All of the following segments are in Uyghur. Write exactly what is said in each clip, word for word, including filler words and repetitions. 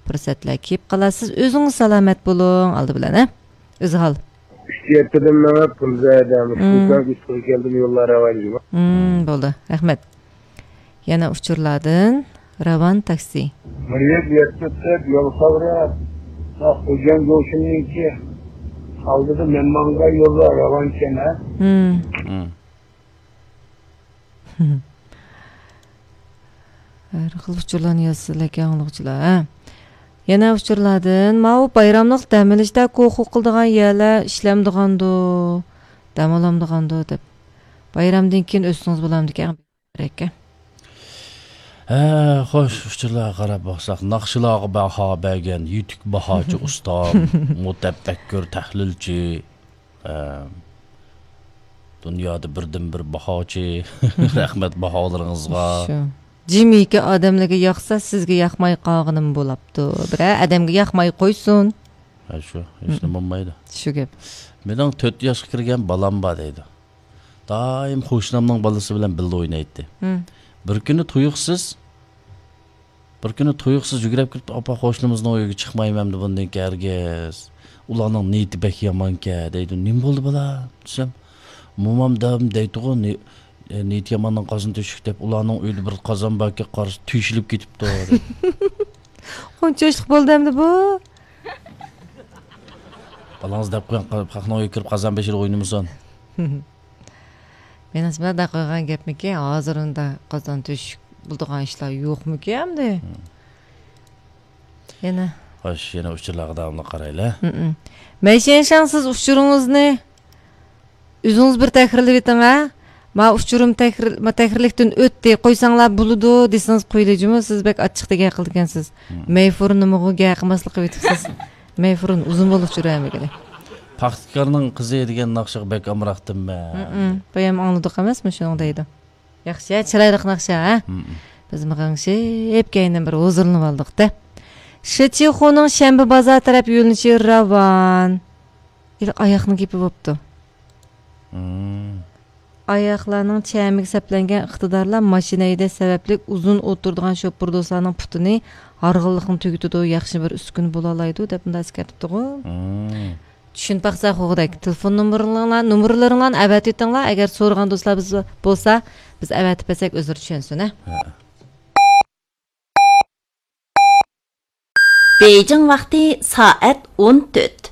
پۇرسەتلەر كېلىپ قالار. سىز ئۆزىڭىز سالامەت بولۇڭ، ئالدى بىلەن، ھە؟ ئۆزھال. ئۈچ يەتتىدىن مېڭىپ، قۇلزەدە، مۇشۇ مم. كەلدىم، يوللار راۋان جۇمۇ. مم، بولدى. رەھمەت. يەنە ئۇچۇرلاردىن راۋان تاكسى. مىللەت يەتتە دەپ يول قاۋراپ، خوجام گوشۇمنىڭكى ئالدىدا مەن ماڭغان يوللار راۋانكەن، ھە؟ مم. مم. ھەر خىل ئۇچۇرلارنى يازسىلەركەن ئاڭلىغۇچىلار، ھە. يەنە ئۇچۇرلاردىن، ماۋۇ بايراملىق دەم ئېلىشتا كوخۇ قىلىدىغان يەرلەر ئىشلەمدىغاندۇ، دەم ئالامدىغاندۇ دەپ. بايرامدىن كېيىن ئۆتسىڭىز بولامدىكەن، بەرەككە. ھە، خوش، ئۇچۇرلارغا قاراپ باقساق، ناخشىلارغا باھا بەرگەن يېتۈك باھاچى ئۇستام، مۇتەپەككۇر تەھلىلچى، ئە، دۇنيادا بىردىنبىر باھاچى. رەھمەت باھالىرىڭىزغا. شۇ. جىمىكى ئادەملەرگە ياقسا، سىزگە ياقماي قالغىنىمۇ بولاپتۇ. بىرەر ئادەمگە ياقماي قويسۇن. ھە، شۇ. ھېچنېمە بولمايدۇ. شۇ گەپ. مېنىڭ تۆت ياشقا كىرگەن بالام بار دەيدۇ. دائىم قوشنامنىڭ بالىسى بىلەن بىللە ئوينايتتى. ھىم. بىر كۈنى تۇيۇقسىز بىر كۈنى تۇيۇقسىز يۈگۈرۈپ كىرىپ، «ئاپا، قوشنىمىزنىڭ ئۆيىگە چىقمايمەن ئەمدى بۇندىن كېيىن ھەرگىز. ئۇلارنىڭ نىيىتى بەك يامانكەن» دەيدۇ. «نېمە بولدى، بالام؟» دېسەم، «مومام دائىم دەيتتىغۇ، نى-، نىيىتى ياماننىڭ قازىنى تۆشۈك دەپ، ئۇلارنىڭ ئۆيىدە بىر قازان باركەن، قارىسا تۆشۈلۈپ كېتىپتۇ» دەيدۇ. قانچە ياشلىق بولدى ئەمدى بۇ؟ بالاڭىز دەپ قويۇڭ، خەقنىڭ ئۆيىگە كىرىپ قازان بېشىدا ئوينىمىسۇن. مېنىڭچە، مۇنداق قىلغان گەپمىكىن، ھازىر ئۇنداق قازان تۆشۈك بولىدىغان ئىشلار يوقمىكىن ئەمدى؟ ھىم. يەنە. خوش، يەنە ئۇچۇرلارغا داۋاملىق قارايلى. ھىم. مەيشەنشاڭ، سىز ئۇچۇرىڭىزنى ئۆزىڭىز بىر تەھرىرلىۋېتىڭ، ھە؟ ما ئۇچۇرۇم تەھرىر-، ما تەھرىرلىكتىن ئۆتتى، قويساڭلار بولىدۇ دېسىڭىز قويىلى جۇمۇ، سىز بەك ئاچچىقتەك گەپ قىلىدىكەنسىز. ھىم. مەيفۇرۇن نېمىغۇ گەپ قىلماسلىق قىلىۋېتىپسىز. مەيفۇرۇن ئۇزۇن بولدى ئۇچۇر بەرمىگىلى. پاختىكارنىڭ قىزى دېگەن ناخشىغا بەك ئامراقتىمەن. ھىم، بايام ئاڭلىدۇق ئەمەسمۇ شۇنىڭ دەيدۇ. ياخشى، چىرايلىق ناخشا، ھە؟ ھىم. بىز مىغىڭشىپ كەينىدىن بىر ھۇزۇرلىنىۋالدۇق-دە. شىچىخۇنىڭ شەنبە بازار تەرەپ يۆنىلىشى راۋان. ھېلىقى ئاياقنىڭ گېپى بوپتۇ. ھىم. ئاياقلارنىڭ چەمىگە سەپلەنگەن ئىقتىدارلار ماشىنا ھەيدەش سەۋەبلىك ئۇزۇن ئولتۇرىدىغان شوپۇر دوستلارنىڭ پۇتىنى ھارغىنلىقنى تۈگىتىدۇ، ياخشى بىر ئۈسكۈنە بولالايدۇ، دەپ مۇنداق ئەسكەرتىپتىغۇ. ھىم. چۈشىنىپ باقساق، خوغدەك تېلېفون نومۇرلىرىڭلار، نومۇرلىرىڭلارنى ئەۋەتىۋېتىڭلار. ئەگەر سورىغان دوستلار بىز بولسا، بىز ئەۋەتىپ بەرسەك، ئۆزلىرى چۈشەنسۇن، ھە؟ ھە. بېيجىڭ ۋاقتى سائەت ئون تۆت.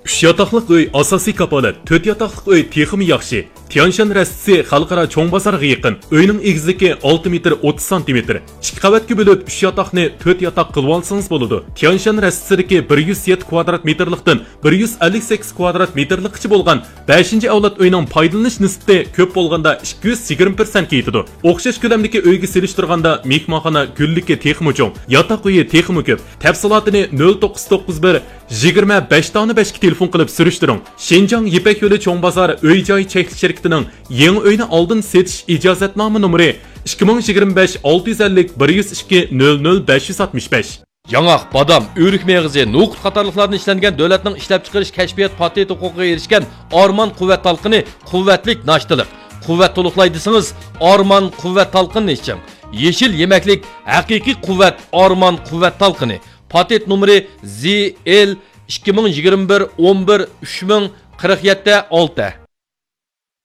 ئۈچ ياتاقلىق ئۆي ئاساسىي كاپالەت، تۆت ياتاقلىق ئۆي تېخىمۇ ياخشى. تيانشان رەستىسى خەلقئارا چوڭ بازارغا يېقىن. ئۆينىڭ ئېگىزلىكى ئالتە مېتىر ئوتتۇز سانتىمېتىر. ئىككى قەۋەتكە بۆلۈپ، ئۈچ ياتاقنى تۆت ياتاق قىلىۋالسىڭىز بولىدۇ. تيانشان رەستىسىدىكى بىر يۈز يەتتە كۋادرات مېتىرلىقتىن بىر يۈز ئەللىك سەككىز كۋادرات مېتىرلىققىچە بولغان بەشىنچى ئەۋلاد ئۆينىڭ پايدىلىنىش نىسبىتى كۆپ بولغاندا ئىككى يۈز يىگىرمە پىرسەنتكە يېتىدۇ. ئوخشاش كۆلەمدىكى ئۆيگە سېلىشتۇرغاندا مېھمانخانا گۈللۈكى تېخىمۇ چوڭ، ياتاق ئۆيى تېخىمۇ كۆپ. تەپسىلاتىنى نۆل توققۇز توققۇز بىر، يىگىرمە بەش دانە بەشكە تېلېفون قىلىپ سۈرۈشتۈرۈڭ. شىنجاڭ يىپەك يولى چوڭ بازار ئۆي جاي چەكلىك شىركىتىنىڭ يېڭى ئۆينى ئالدىن سېتىش ئىجازەتنامە نومۇرى ئىككى مىڭ يىگىرمە بەش ئالتە يۈز ئەللىك بىر يۈز ئىككى نۆل نۆل بەش يۈز ئاتمىش بەش. ياڭاق، بادام، ئۆرۈك مېغىزى، نوقۇت قاتارلىقلاردىن ئىشلەنگەن دۆلەتنىڭ ئىشلەپچىقىرىش كەشپىيات پاتېنت ھوقۇقىغا ئېرىشكەن ئارمان قۇۋۋەت تالقىنى، قۇۋۋەتلىك ناشتىلىق. قۇۋۋەت تولۇقلاي دېسىڭىز، ئارمان قۇۋۋەت تالقىنىنى ئىچىڭ. يېشىل يېمەكلىك، ھەقىقىي قۇۋۋەت، ئارمان قۇۋۋەت تالقىنى. پاتېنت نومۇرى زى ئېل ئىككى مىڭ يىگىرمە بىر ئون بىر ئۈچ مىڭ قىرىق يەتتە ئالتە.